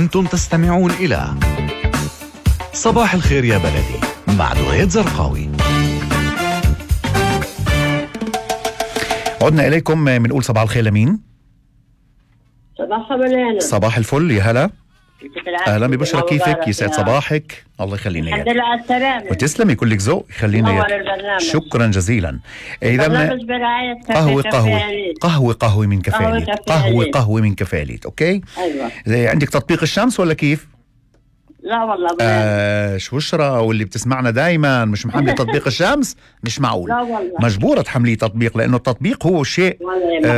أنتم تستمعون إلى صباح الخير يا بلدي مع دعية زرقاوي. عدنا إليكم بنقول صباح الخير لمين؟ صباح الخير. صباح الفل يا هلا. أهلا ببشرة، كيفك؟ يسعد صباحك. الله يخلينا الحمد لله على السلامة. وتسلمي، كلك ذوق. يخلينا شكرا جزيلا. إذا قهوة من كفاليت. قهوة من كفاليت. أوكي. أيوة. عندك تطبيق الشمس ولا كيف؟ لا والله شو بشرة واللي بتسمعنا دايما مش محملة تطبيق الشمس؟ مش معقول. لا والله مجبورة تحمليه تطبيق، لأنه التطبيق هو شيء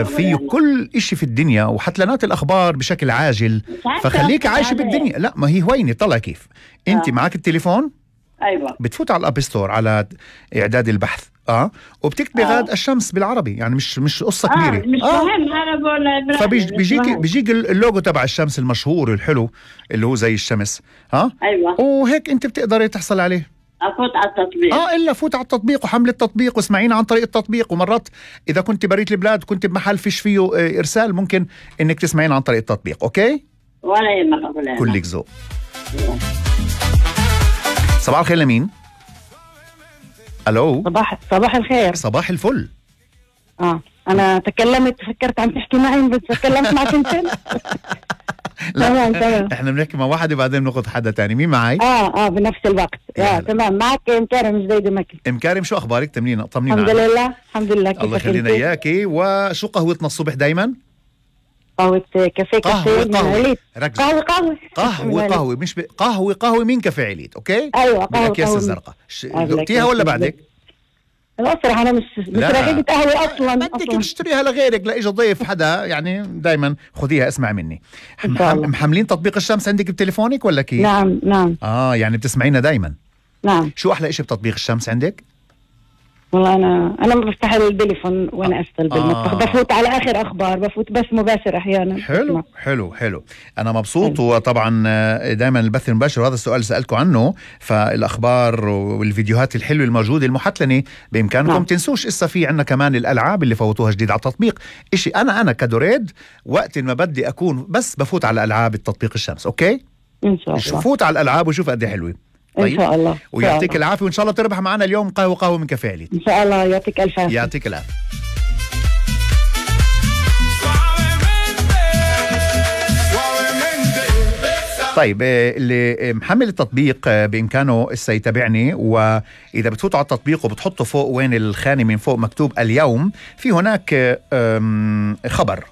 فيه كل إشي في الدنيا وحتلانات الأخبار بشكل عاجل، فخليك عايشة بالدنيا. لا ما هي هوينة. طلع كيف أنت معك التليفون. أيوة. بتفوت على الأب ستور على إعداد البحث وبتكتبي غاد الشمس بالعربي، يعني مش قصة كبيرة. مش مهم. أنا بقول فبيجيك اللوجو تبع الشمس المشهور الحلو اللي هو زي الشمس. أيوة. وهيك أنت بتقدري تحصل عليه. أفوت على التطبيق. إلا فوت على التطبيق وحمل التطبيق واسمعينا عن طريق التطبيق. ومرات إذا كنت بريت البلاد كنت بمحل فيش فيه إرسال، ممكن إنك تسمعينا عن طريق التطبيق. أوكي. ولا يهمك. كلك ذوق. صباح الخير لمين؟ ألو. صباح الخير. صباح الفل. أنا تكلمت، فكرت عم تحكي معي بس تكلمت معك انت. تمام. احنا بنحكي مع واحد وبعدين بناخذ حدا تاني. مين معي؟ بنفس الوقت. تمام. معك مكارم زيد مكي. مكارم، شو أخبارك؟ طمنينا. الحمد لله. الله يخلينا إياكي. وشو قهوتنا الصبح دايما؟ قهوة كافيه. قهوة مش قهوة من كافيه عليت. اوكي. ايوه بالأكياس الزرقاء. ذقتيها ولا بعدك؟ لا صراحة انا مش رغيبة قهوة اصلا. بدك تشتريها لغيرك، لا اجى ضيف حدا، يعني دايما خذيها اسمع مني. محملين تطبيق الشمس عندك بتليفونك ولا كيف؟ نعم. يعني بتسمعينا دايما. نعم. شو احلى اشي بتطبيق الشمس عندك؟ والله انا ما بفتح التليفون وانا اشتغل بالمطبخ. بفوت على اخر اخبار، بفوت بس مباشر احيانا. حلو. انا مبسوط. وطبعا دائما البث المباشر، وهذا السؤال اللي سألكم عنه، فالاخبار والفيديوهات الحلوه الموجوده المحتلنه بامكانكم تنسوش. اسا في عنا كمان الالعاب اللي فوتوها جديد على التطبيق. اشي انا كدوريد وقت ما بدي اكون بس بفوت على الالعاب التطبيق الشمس. اوكي ان شاء الله. فوت على الالعاب وشوف قد ايه حلوه. طيب. إن شاء الله. ويعطيك العافية، وإن شاء الله تربح معنا اليوم قهوة من كافيه عليت. إن شاء الله. يعطيك ألف عافية. يعطيك العافية. طيب اللي محمل التطبيق بإمكانه يتابعني، وإذا بتفوتوا على التطبيق وبتحطوا فوق وين الخانة من فوق مكتوب اليوم، في هناك خبر